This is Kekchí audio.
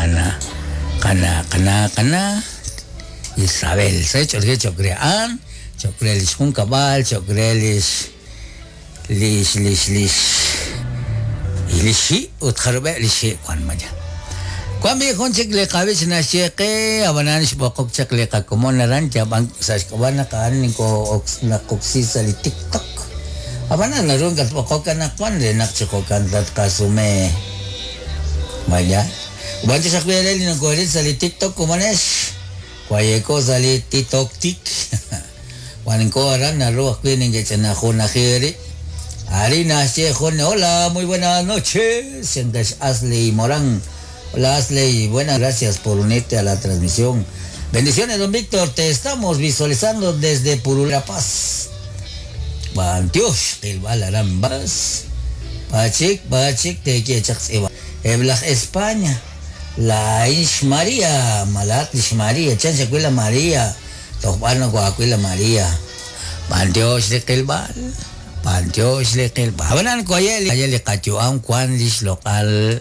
Qana qana qana qana Isabel se ch'olje cho'q re a'an, cho'q re li xjunkab'al, cho'q re lix lix lix lix li xhi' ut jarub'eb' li xhi' wan maya. Wan b'i' jun chik li qab'ich naxye qe, ab'anan xb'oqok chaq li qakomon aran yab'an sa' xk'ab'a' naq a'an naqoksi sa' li TikTok. Ab'anan naru nakatb'oqok anaqwan re naq chi jo'kan tatqasume. Maya. Wan chik ajwi' eere li nokooril sa' li TikTok komonex. Waye'ko sa' li TikTok tik. Wanko aran naru ajwi' neke'ch'inajunaji eerib'. Arin naxye jun hola, muy buenas noches, chankex Asley Morán. Hola Asley, buenas gracias por unirte a la transmisión. Bendiciones, don Víctor, te estamos visualizando desde Purula Paz. B'antiox qilb'al aran Bas. B'achik, b'achik, teeye chaq tz'iib'a. Eb' laj España, laa'in xMaria, ma laa'at li xMaria, chan xawil la Maria, toj b'ar nokohaawil la Maria. B'antiox li qilb'al, b'antiox li qilb'al. Ab'anan waye' li qayu'am wan li xloq'al.